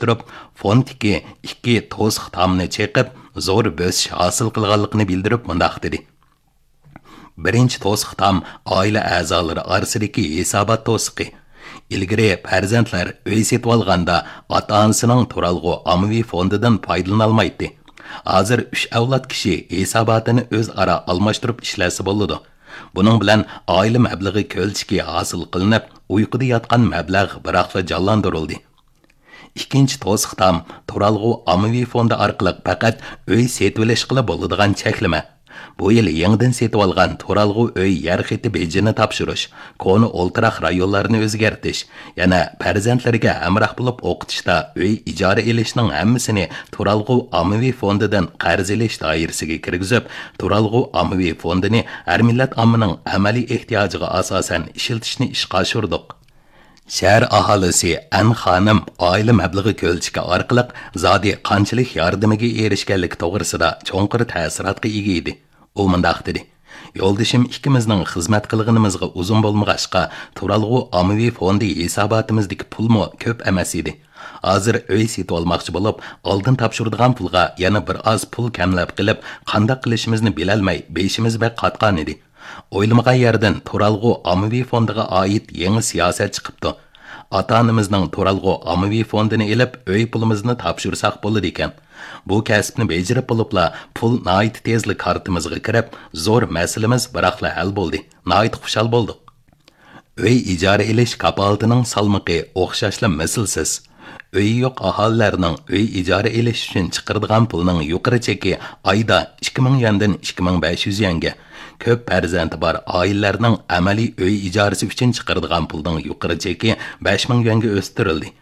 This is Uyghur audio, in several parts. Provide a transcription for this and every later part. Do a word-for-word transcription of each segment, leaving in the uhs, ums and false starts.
تۇرۇپ، فوندتىكى ئىككى توسۇق تامنى چېقىپ، زور بۆسۈش ھاسىل قىلغانلىقىنى بىلدۈرۈپ مۇنداق دېدى: بىرىنچى توسۇق تام ئائىلە ئەزالىرى ئارىسىدىكى ھېسابات توسۇقى. ئىلگىرى پەرزەنتلەر ئۆي سېتىۋالغاندا ئاتا-ئانىسىنىڭ تۇرالغۇ ئاممىۋى فوندىدىن پايدىلىنالمايتتى. ھازىر ئۈچ ئەۋلاد كىشى ھېساباتىنى ئۆزئارا ئالماشتۇرۇپ ئىشلەتسە بولىدۇ. بۇنىڭ بىلەن ئائىلە مەبلىغى كۆلچىكى ھاسىل قىلىنىپ، ئۇيقۇدا ياتقان مەبلەغ بىراقلا جانلاندۇرۇلدى. ئىككىنچى توسۇق تام تۇرالغۇ ئاممىۋى فوندى ئارقىلىق پەقەت ئۆي سېتىۋېلىشقىلا بولىدىغان چەكلىمە. بۇ يىل يېڭىدىن سېتىۋالغان تۇرالغۇ ئۆي يەر خېتى بېجىنى تاپشۇرۇش، كونا ئولتۇراق رايونلارنى ئۆزگەرتىش، يەنە پەرزەنتلىرىگە ھەمراھ بولۇپ ئوقۇتۇشتا ئۆي ئىجارە ئېلىشنىڭ ھەممىسىنى تۇرالغۇ ئاممىۋى فوندىدىن قەرز ئېلىش دائىرىسىگە كىرگۈزۈپ، تۇرالغۇ ئاممىۋى فوندىنى ھەر مىللەت ئاممىنىڭ ئەمەلىي ئېھتىياجىغا ئاساسەن ئىشلىتىشنى ئىشقا ئاشۇردۇق. شەھەر ئاھالىسى ئەن خانىم ئائىلە مەبلىغى كۆلچىكى ئارقىلىق زادى قانچىلىك ياردىمىگە ئېرىشكەنلىكى توغرىسىدا چوڭقۇر تەسىراتقا ئىگە ئىدى. ئۇ مۇنداق دېدى: يولدىشىم ئىككىمىزنىڭ خىزمەت قىلغىنىمىزغا ئۇزۇن بولمىغاچقا، تۇرالغۇ ئاممىۋى فوندى ھېساباتىمىزدىكى پۇلمۇ كۆپ ئەمەس ئىدى. ھازىر ئۆي سېتىۋالماقچى بولۇپ، ئالدىن تاپشۇرىدىغان پۇلغا يەنە بىر ئاز پۇل كەملەپ قېلىپ، قانداق قىلىشىمىزنى بىلەلمەي، بېشىمىز بەك قاتقان ئىدى. ئويلىمىغان يەردىن تۇرالغۇ ئاممىۋى فوندىغا ئائىت يېڭى سىياسەت چىقىپتۇ. ئاتا-ئانىمىزنىڭ تۇرالغۇ ئاممىۋى فوندىنى ئېلىپ، ئۆي پۇلىمىزنى تاپشۇرساق بولىدىكەن. بۇ كەسىپنى بېجىرىپ بولۇپلا، پۇل ناھايىتى تېزلا كارتىمىزغا كىرىپ، زور مەسىلىمىز بىراقلا ھەل بولدى. ناھايىتى خۇشال بولدۇق. ئۆي ئىجارە ئېلىش كاپالىتىنىڭ سالمىقى ئوخشاشلا مىسلىسىز. ئۆيى يوق ئاھالىلەرنىڭ ئۆي ئىجارە ئېلىش ئۈچۈن چىقىرىدىغان پۇلنىڭ يۇقىرى چېكى ئايدا ئىككى مىڭ يۈەندىن ئىككى مىڭ بەش يۈز يۈەنگە، كۆپ پەرزەنتى بار ئائىلىلەرنىڭ ئەمەلىي ئۆي ئىجارىسى ئۈچۈن چىقىرىدىغان پۇلنىڭ يۇقىرى چېكى بەش مىڭ يۈەنگە ئۆستۈرۈلدى.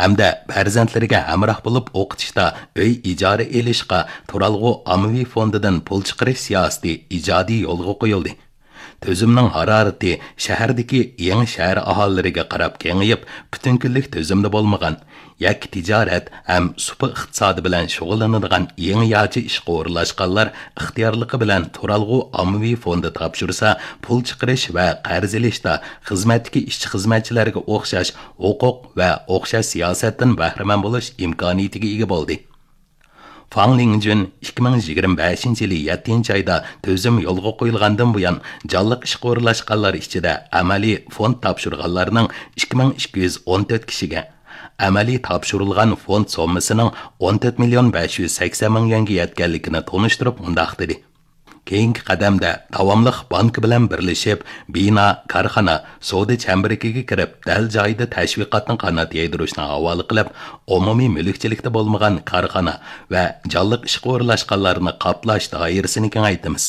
ھەمدە پەرزەنتلىرىگە ھەمراھ بولۇپ ئوقۇتۇشتا ئۆي ئىجارە ئېلىشقا تۇرالغۇ ئاممىۋى فوندىدىن پۇل چىقىرىش سىياسىتى ئىجادىي يولغا قويۇلدى. تۈزۈمنىڭ ھارارىتى شەھەردىكى يېڭى شەھەر ئاھالىلىرىگە قاراپ كېڭىيىپ، پۈتۈن كۈنلۈك تۈزۈمدە بولمىغان، يەككە تىجارەت ھەم سۇپا ئىقتىسادى بىلەن شۇغۇللىنىدىغان يېڭىچە ئىشقا ئورۇنلاشقانلار ئىختىيارلىقى بىلەن تۇرالغۇ ئاممىۋى فوندى تاپشۇرسا، پۇل چىقىرىش ۋە قەرز ئېلىشتا خىزمەتتىكى ئىشچى-خىزمەتچىلەرگە ئوخشاش ھوقۇق ۋە ئوخشاش سىياسەتتىن بەھرىمەن بولۇش ئىمكانىيىتىگە ئىگە بولدى. فاڭ لىڭجۈن ئىككى مىڭ يىگىرمە بەشىنچى يىلى يەتتىنچى ئايدا تۈزۈم يولغا قويۇلغاندىن بۇيان، جانلىق ئىشقا ئورۇنلاشقانلار ئىچىدە ئەمەلىي فوند تاپشۇرغانلارنىڭ ئىككى مىڭ ئىككى يۈز ئون تۆت كىشىگە، ئەمەلىي تاپشۇرۇلغان فوند سوممىسىنىڭ ئون تۆت مىليون بەش يۈز سەكسەن مىڭ يۈەنگە يەتكەنلىكىنى تونۇشتۇرۇپ مۇنداق دېدى: كېيىنكى قەدەمدە داۋاملىق بانكا بىلەن بىرلىشىپ، بىنا، كارخانا، سودا چەمبىرىكىگە كىرىپ، دەل جايىدا تەشۋىقاتنى قانات يايدۇرۇشنى ھاۋالە قىلىپ، ئومۇمىي مۈلۈكچىلىكتە بولمىغان كارخانا ۋە جانلىق ئىشقا ئورۇنلاشقانلارنى قاپلاش دائىرىسىنى كېڭەيتىمىز.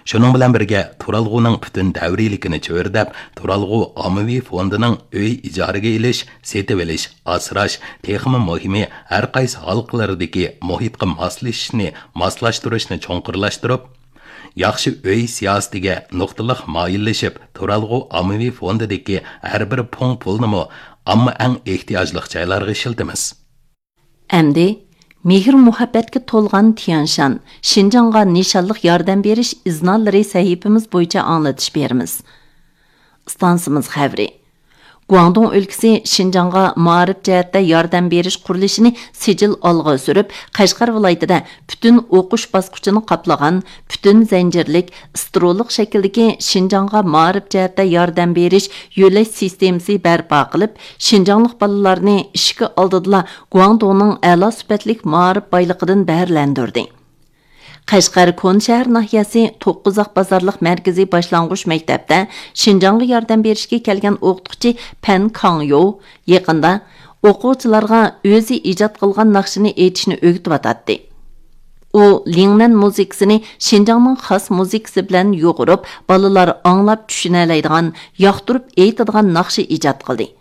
شۇنىڭ بىلەن بىرگە، تۇرالغۇنىڭ پۈتۈن دەۋرىيلىكىنى چۆرىدەپ، تۇرالغۇ ئاممىۋى فوندىنىڭ ئۆي ئىجارىگە ئېلىش، سېتىۋېلىش، ئاسراش، تېخىمۇ مۇھىمى، ھەر قايسى ھالقىلىرىدىكى مۇھىتقا ماسلىشىشنى، ماسلاشتۇرۇشنى چوڭقۇرلاشتۇرۇپ، ياخشى ئۆي سىياسىتىگە نۇقتىلىق مايىللىشىپ، تۇرالغۇ ئاممىۋى فوندىدىكى ھەر بىر پۇڭ پۇلنىمۇ ئامما ئەڭ ئېھتىياجلىق جايلارغا ئىشلىتىمىز. ئەمدى مېھىر-مۇھەببەتكە تولغان تيەنشان، شىنجاڭغا نىشانلىق ياردەم بېرىش ئىزنالىرى سەھىپىمىز بويىچە ئاڭلىتىش بېرىمىز. ئىستانسىمىز خەۋىرى. گۇاڭدۇڭ ئۆلكىسى شىنجاڭغا مائارىپ جەھەتتە ياردەم بېرىش قۇرۇلۇشىنى سىجىل ئالغا سۈرۈپ، قەشقەر ۋىلايىتىدە پۈتۈن ئوقۇش باسقۇچىنى قاپلىغان پۈتۈن زەنجىرلىك، ئىسترولۇق شەكىلدىكى شىنجاڭغا مائارىپ جەھەتتە ياردەم بېرىش يۆلەش سىستېمىسى بەرپا قىلىپ، شىنجاڭلىق بالىلارنى ئىشىكى ئالدىدىلا گۇاڭدۇڭنىڭ ئەلا سۈپەتلىك مائارىپ بايلىقىدىن بەھرىلەندۈردى. قەشقەر كونا شەھەر ناھىيەسى توققۇزاق بازارلىق مەركىزىي باشلانغۇچ مەكتەپتە شىنجاڭغا ياردەم بېرىشكە كەلگەن ئوقۇتقۇچى پەن كاڭيو يېقىندا ئوقۇغۇچىلارغا ئۆزى ئىجاد قىلغان ناخشىنى ئېيتىشنى ئۆگىتىۋاتاتتى. ئۇ لىڭنەن مۇزىكىسىنى شىنجاڭنىڭ خاس مۇزىكىسى بىلەن يۇغۇرۇپ، بالىلار ئاڭلاپ چۈشىنەلەيدىغان، ياقتۇرۇپ ئېيتىدىغان ناخشا ئىجاد قىلدى.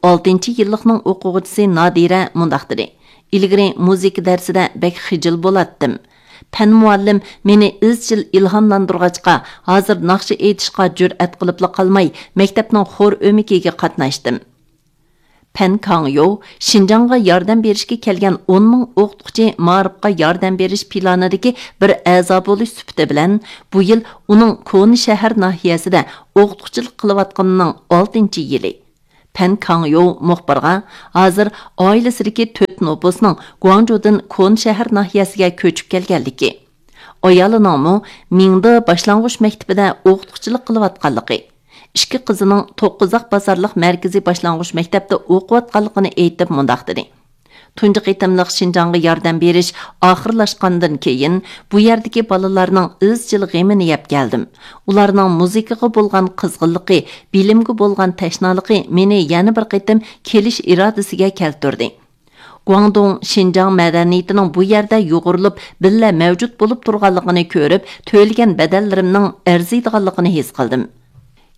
ئالتىنچى يىللىقنىڭ ئوقۇغۇچىسى نادىرە مۇنداق دېدى: ئىلگىرى مۇزىكا دەرسىدە بەك خىجىل بولاتتىم. پەن مۇئەللىم مېنى ئىزچىل ئىلھاملاندۇرغاچقا، ھازىر ناخشا ئېيتىشقا جۈرئەت قىلىپلا قالماي، مەكتەپنىڭ خور ئۆمىكىگە قاتناشتىم. پەن كاڭيو شىنجاڭغا ياردەم بېرىشكە كەلگەن ئون مىڭ ئوقۇتقۇچى مائارىپقا ياردەم بېرىش پىلانىدىكى بىر ئەزا بولۇش سۈپىتى بىلەن، بۇ يىل ئۇنىڭ كونا شەھەر ناھىيەسىدە ئوقۇتقۇچىلىق قىلىۋاتقىنىنىڭ ئالتىنچى يىلى. پەن كاڭيو مۇخبىرغا ھازىر ئائىلىسىدىكى تۆت نوپۇسنىڭ گۇاڭجۇدىن كونا شەھەر ناھىيەسىگە كۆچۈپ كەلگەنلىكى، ئايالىنىڭمۇ مىڭدې باشلانغۇچ مەكتىپىدە ئوقۇتقۇچىلىق قىلىۋاتقانلىقى، ئىككى قىزىنىڭ توققۇزاق بازارلىق مەركىزىي باشلانغۇچ مەكتەپتە ئوقۇۋاتقانلىقىنى ئېيتىپ مۇنداق دېدى: تۇنجى قېتىملىق شىنجاڭغا ياردەم بېرىش ئاخىرلاشقاندىن كېيىن، بۇ يەردىكى بالىلارنىڭ ئىزچىل غېمىنى يەپ كەلدىم. ئۇلارنىڭ مۇزىكىغا بولغان قىزغىنلىقى، بىلىمگە بولغان تەشنالىقى مېنى يەنە بىر قېتىم كېلىش ئىرادىسىگە كەلتۈردى. گۇاڭدۇڭ شىنجاڭ مەدەنىيىتىنىڭ بۇ يەردە يۇغۇرۇلۇپ، بىللە مەۋجۇت بولۇپ تۇرغانلىقىنى كۆرۈپ، تۆلىگەن بەدەللىرىمنىڭ ئەرزىيدىغانلىقىنى ھېس قىلدىم.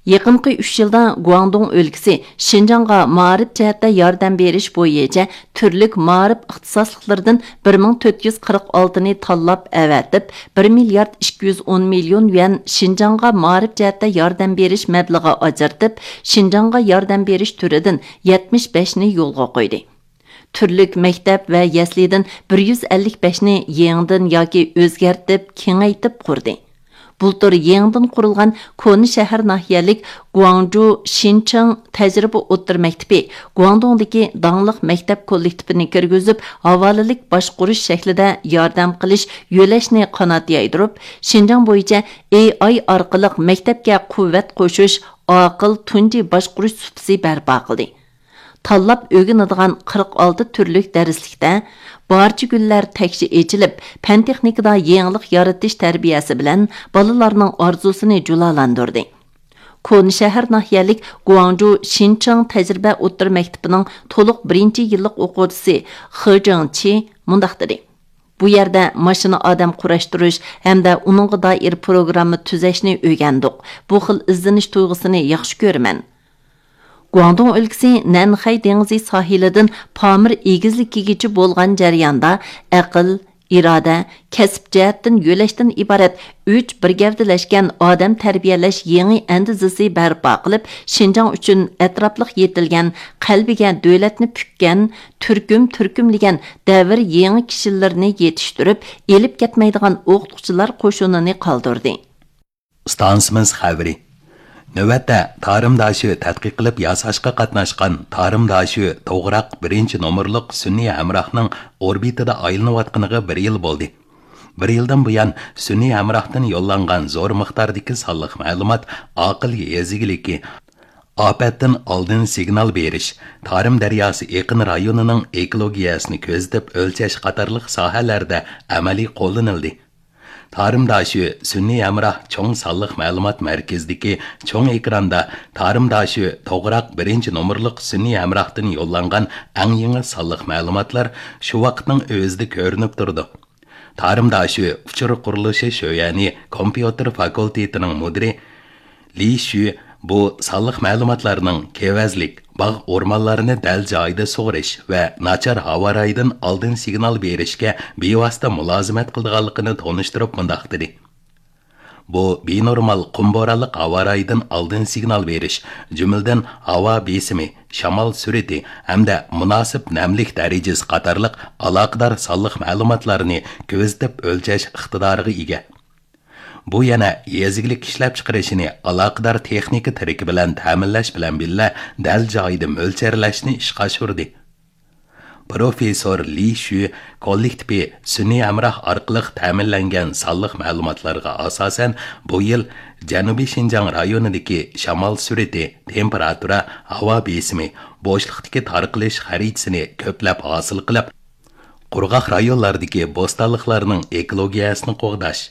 يېقىنقى ئۈچ يىلدا گۇاڭدۇڭ ئۆلكىسى شىنجاڭغا مائارىپ جەھەتتە ياردەم بېرىش بويىچە تۈرلۈك مائارىپ ئىختىساسلىقلىرىدىن بىر مىڭ تۆت يۈز قىرىق ئالتىنى تاللاپ ئەۋەتىپ، بىر مىليارد ئىككى يۈز ئون مىليون يۈەن شىنجاڭغا مائارىپ جەھەتتە ياردەم بېرىش مەبلىغى ئاجرىتىپ، شىنجاڭغا ياردەم بېرىش تۈرىدىن يەتمىش بەشنى يولغا قويدى. تۈرلۈك مەكتەپ ۋە يەسلىدىن بىر يۈز ئەللىك بەشنى يېڭىدىن ياكى ئۆزگەرتىپ، كېڭەيتىپ قۇردى. بۇلتۇر يېڭىدىن قۇرۇلغان كونا شەھەر ناھىيەلىك گۇاڭجۇ شىنچىڭ تەجرىبە ئوتتۇرا مەكتىپى گۇاڭدۇڭدىكى داڭلىق مەكتەپ كوللېكتىپىنى كىرگۈزۈپ، ھاۋالىلىك باشقۇرۇش شەكلىدە ياردەم قىلىش يۆلەشنى قانات يايدۇرۇپ، شىنجاڭ بويىچە ئېي ئاي ئارقىلىق مەكتەپكە قۇۋۋەت قوشۇش ئاقىل تۇنجى باشقۇرۇش سۇپىسى بەرپا قىلدى. تاللاپ ئۆگىنىدىغان قىرىق ئالتە تۈرلۈك دەرسلىكتە بارچە گۈللەر تەكشى ئېچىلىپ، پەن-تېخنىكىدا يېڭىلىق يارىتىش تەربىيەسى بىلەن بالىلارنىڭ ئارزۇسىنى جۇلالاندۇردى. كونا شەھەر ناھىيەلىك گۇاڭجۇ شىنچىڭ تەجرىبە ئوتتۇرا مەكتىپىنىڭ تولۇق بىرىنچى يىللىق ئوقۇغۇچىسى خې جېڭچى مۇنداق دېدى: بۇ يەردە ماشىنا ئادەم قۇراشتۇرۇش ھەمدە ئۇنىڭغا دائىر پروگرامما تۈزەشنى ئۆگەندۇق. بۇ خىل ئىزدىنىش تۇيغۇسىنى ياخشى كۆرىمەن. گۇاڭدۇڭ ئۆلكىسى نەنخەي دېڭىزى ساھىلىدىن پامىر ئېگىزلىكىگىچە بولغان جەرياندا ئەقىل، ئىرادە، كەسىپ جەھەتتىن يۆلەشتىن ئىبارەت ئۈچ بىر گەۋدىلەشكەن ئادەم تەربىيەلەش يېڭى ئەندىزىسى بەرپا قىلىپ، شىنجاڭ ئۈچۈن ئەتراپلىق يېتىلگەن، قەلبىگە دۆلەتنى پۈككەن، تۈركۈم تۈركۈملىگەن دەۋر يېڭى كىشىلىرىنى يېتىشتۈرۈپ، ئېلىپ كەتمەيدىغان ئوقۇتقۇچىلار قوشۇنىنى قالدۇردى. ئىستانسىمىز خەۋىرى. نۆۋەتتە تارىم داشۆ تەتقىق قىلىپ ياساشقا قاتناشقان تارىم داشۆ توغراق بىرىنچى نومۇرلۇق سۈنئىي ھەمراھنىڭ ئوربىتىدا ئايلىنىۋاتقىنىغا بىر يىل بولدى. بىر يىلدىن بۇيان سۈنئىي ھەمراھتىن يوللانغان زور مىقداردىكى سانلىق مەلۇمات ئاقىل يېزا ئىگىلىكى، ئاپەتتىن ئالدىن سىگنال بېرىش، تارىم دەرياسى ئېقىن رايونىنىڭ ئېكولوگىيەسىنى كۆزىتىپ ئۆلچەش قاتارلىق ساھەلەردە ئەمەلىي قوللىنىلدى. تارىم داشۆ سۈنئىي ھەمراھ چوڭ سانلىق مەلۇمات مەركىزىدىكى چوڭ ئېكراندا تارىم داشۆ توغراق بىرىنچى نومۇرلۇق سۈنئىي ھەمراھتىن يوللانغان ئەڭ يېڭى سانلىق مەلۇماتلار شۇ ۋاقىتنىڭ ئۆزىدە كۆرۈنۈپ تۇرىدۇ. تارىم داشۆ ئۇچۇر قۇرۇلۇشى شۆيەنى كومپيۇتېر فاكۇلتېتىنىڭ مۇدىرى لى شۈ بۇ سانلىق مەلۇماتلارنىڭ كېۋەزلىك، باغ ئورمانلارنى دەل جايىدا سۇغىرىش ۋە ناچار ھاۋا رايىدىن ئالدىن سىگنال بېرىشكە بىۋاسىتە مۇلازىمەت قىلىدىغانلىقىنى تونۇشتۇرۇپ مۇنداق دېدى: بۇ بىنورمال قۇم بورانلىق ھاۋا رايىدىن ئالدىن سىگنال بېرىش، جۈملىدىن ھاۋا بېسىمى، شامال سۈرئىتى ھەمدە مۇناسىپ نەملىك دەرىجىسى قاتارلىق ئالاقىدار سانلىق مەلۇماتلارنى كۆزىتىپ ئۆلچەش ئىقتىدارىغا ئىگە. بۇ يەنە يېزا ئىگىلىك ئىشلەپچىقىرىشىنى ئالاقىدار تېخنىكا تىرىكى بىلەن تەمىنلەش بىلەن بىللە، دەل جايىدا مۆلچەرلەشنى ئىشقا ئاشۇردى. پروفېسسور لى شۈ كوللېكتىپى سۈنئىي ھەمراھ ئارقىلىق تەمىنلەنگەن سانلىق مەلۇماتلارغا ئاساسەن، بۇ يىل جەنۇبىي شىنجاڭ رايونىدىكى شامال سۈرئىتى، تېمپېراتۇرا، ھاۋا بېسىمى، بوشلۇقتىكى تارقىلىش خەرىتىسىنى كۆپلەپ ھاسىل قىلىپ، قۇرغاق رايونلاردىكى بوستانلىقلارنىڭ ئېكولوگىيەسىنى قوغداش،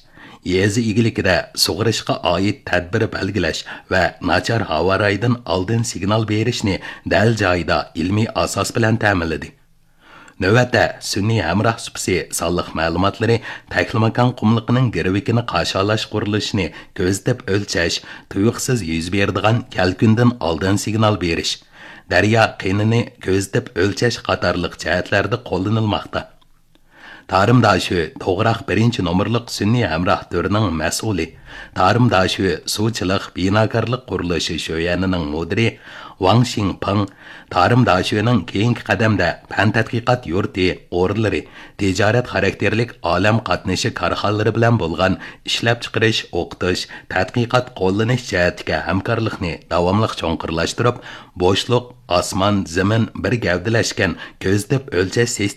يېزا ئىگىلىكىدە سۇغىرىشقا ئائىت تەدبىر بەلگىلەش ۋە ناچار ھاۋا رايىدىن ئالدىن سىگنال بېرىشنى دەل جايىدا ئىلمىي ئاساس بىلەن تەمىنلىدى. نۆۋەتتە، سۈنئىي ھەمراھ سۇپىسى سانلىق مەلۇماتلىرى تەكلىماكان قۇملۇقىنىڭ گىرۋىكىنى قاشالاش قۇرۇلۇشىنى كۆزىتىپ ئۆلچەش، تۇيۇقسىز يۈز بېرىدىغان كەلكۈندىن ئالدىن سىگنال بېرىش، دەريا قىنىنى كۆزىتىپ ئۆلچەش قاتارلىق جەھەتلەردە قوللىنىلماقتا. تارىم داشۆ توغراق بىرىنچى نومۇرلۇق سۈنئىي ھەمراھ تۈرىنىڭ مەسئۇلى، تارىم داشۆ سۇچىلىق بىناكارلىق قۇرۇلۇشى شۆيەنىنىڭ مۇدىرى ۋاڭ شىڭپېڭ تارىم داشۆنىڭ كېيىنكى قەدەمدە پەن تەتقىقات يۇرتى ئورۇنلىرى، تىجارەت خاراكتېرلىك ئالەم قاتنىشى كارخانىلىرى بىلەن بولغان ئىشلەپچىقىرىش، ئوقۇتۇش، تەتقىقات، قوللىنىش جەھەتتىكى ھەمكارلىقنى داۋاملىق چوڭقۇرلاشتۇرۇپ، بوشلۇق، ئاسمان، زېمىن بىر گەۋدىلەشكەن كۆزىتىپ ئۆلچەش سىستېمىسى